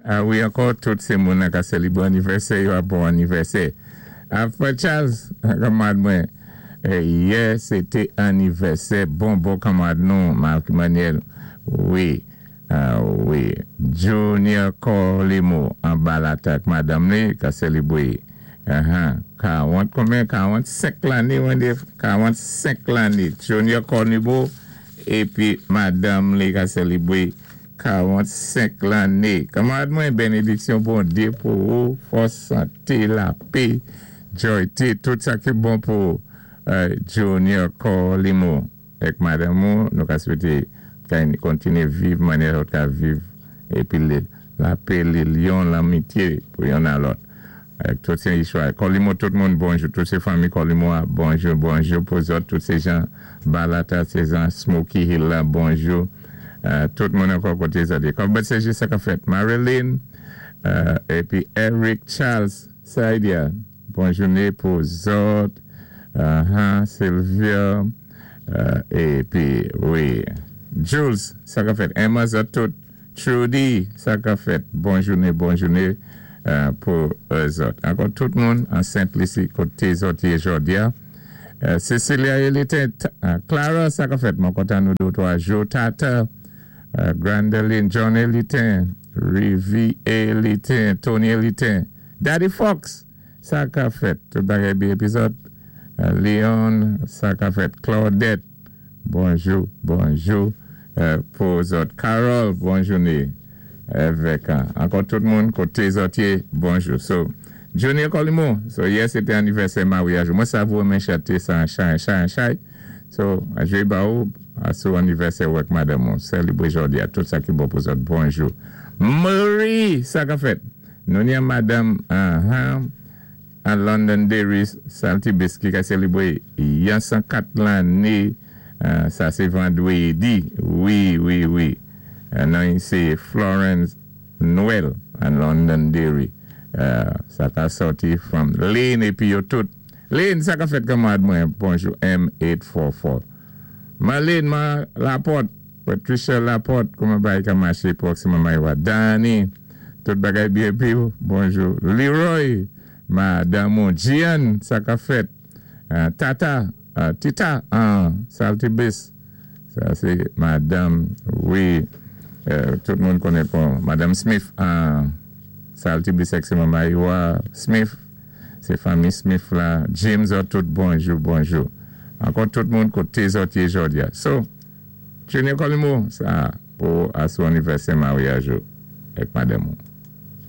A wi, ankò tout sé moun ka sélibwé anivèsè yo a, bon anivèsè. A frè Charles, kanmarad mwen, yè sé té anivèsè bon bon kanmarad nou, Marc Emmanuel. Wi, wi. Junior Colimo anba latak madanm li ka sélibwé 40 konbyen? 45 lanné, mwen 45 lanné. Junior Colimo épi madanm li ka sélibwé 45 lanné. Kanmarad mwen, bénédiksyon Bondyé pou ou, fòs, santé, lapè, jòyté, tout sa ki bon pou Junior Colimo. Èk madanm ou, nou ka swété ka kontiné viv mannyè ou ka viv épi lapè, linyon, lanmityé pou youn a lòt. Èk tout sé istwa. Colimo, tout moun, bonjou. Tout sé fanmi Colimo, bonjou, bonjou pou zòt. Tout sé jan Balata, sé jan Smoky Hill la, bonjou. Tout moun ankò koté zòt. Kòm sé jis sa ka fèt. Marilyn, épi Eric Charles, Saidia, bon jouné pou zòt. Sylvia, épi, wi, Jules, sa ka fèt. Emma, zòt tout. Trudy, sa ka fèt. Bon jouné, bon jouné pou zòt. Ankò tout moun an Sent Lisi koté zòt yé jòdi a. Cecilia Elite, Clara, sa ka fèt. Mwen kontan nou dé twa jou. Tata, Grandeline, John Elite, Rivi Elite, Tony Elite, Daddy Fox, sa ka fèt. Tout bagay byen épi zòt. Leon, sa ka fèt. Claudette, bonjou, bonjou pou zòt. Carol, bon jouné. Avèk ankò tout moun koté zòt yé, bonjou. So, Junior Colimo, so yè sé té anivèsè maryaj. Mwen savouré men chanté sa chay, chay, chay. So, jwé ba ou sou anivèsè ou ak madanm ou. Sélibwé jòdi a tout sa ki bon pou zòt. Bonjou. Marie, sa ka fèt. Nou ni madanm an Londonderry Saltibus ki ka sélibwé yon 104 lanné, sa sé vandwédi. Wi. Non, sé Florence Noël an Londonderry. Sa ka sòti from Lane épi yo tout. Lane, sa ka fèt kanmarad mwen. Bonjou M844. Marlene, ma Laporte, Patricia Laporte, kouman bagay ka maché Proxima Mayowa. Danny, tout bagay byen épi bonjou. Leroy, madanm Gian, sa ka fèt. Tata, Tita, Saltibus, sa sé madanm, wi, tout moun konnen pou Madanm Smith, Saltibus Proxima Mayowa, Smith, sé fanmi Smith la, James, tout bonjou, bonjou. Ankò tout moun koté zòt yé jòdi a. So, Junior Colimo, sa pou asou anivèsè maryaj ou ak madanm ou.